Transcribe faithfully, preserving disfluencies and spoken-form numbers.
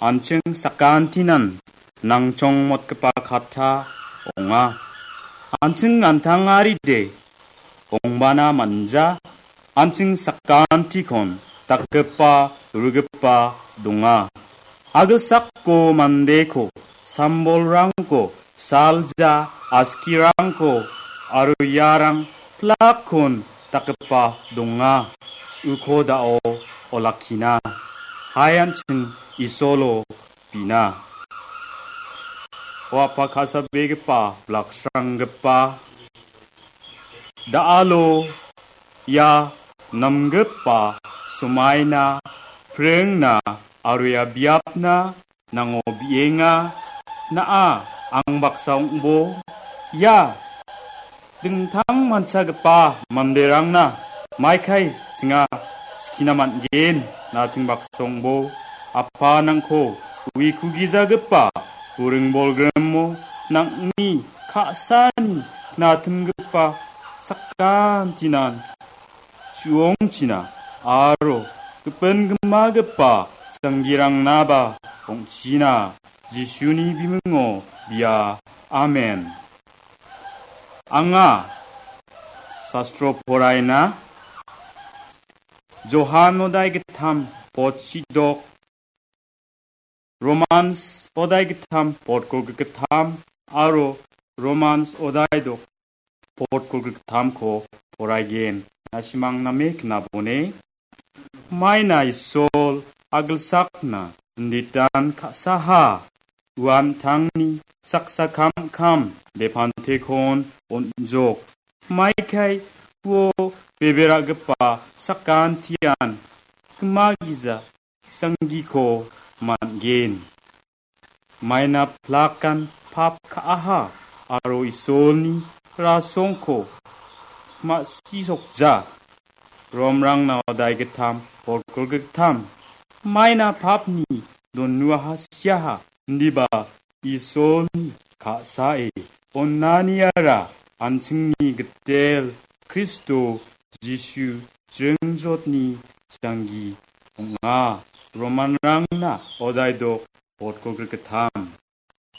an·ching sakantinan nangchongmotgipa katta ong·a. An·ching an·tangaride ongbana manja, an·ching sakantikon dakgipa, rugipa donga. Agilsako mandeko, sambolrangko, salja, askirangko, aro iarang plakkon dakgipa donga. Uko da·o olakkina. Hai an·ching Isolo bina. O Apa ka·sabegipa, blaksranggipa, da·alo ia namgipa somaina, pringna aro ia biapna nango bi·enga. Na·a, ang baksa ong·bo, ia dingtang manchagipa manderangna maikai chinga skina man·gen, na·ching baksa ong·bo. Apa nangko uiku gijagipa buring bolgrimo nangni ka·sani knatimgipa sakantinan chu·ongchina aro gipin gimagipa sanggirangnaba ong·china. Jisuni bimingo bia. Amen. Anga sastro poraina Johan odai gittam potchidok, Romans odai gittam potgolgrik gittam aro Romans odai dok potgolgrik gittamko poraigen. Na·simang name knabone. Maina Isol agilsakna inditan ka·saha, uan tangni saksa kamkam depantekon on·jok. Maikai uo beberagipa sakantian gimagija sanggiko man·gen. Maina plakan pap ka·aha aro Isolni rasongko ma·sisokja. Romrangna odai gittam, potgolgrik gittam. Maina papni donuaha siaha, indiba Isolni ka·sae onaniara an·chingni gitel Kristo Jisu jringjotni janggi ong·a. Romanrangna odai dok potgolgrik gittam.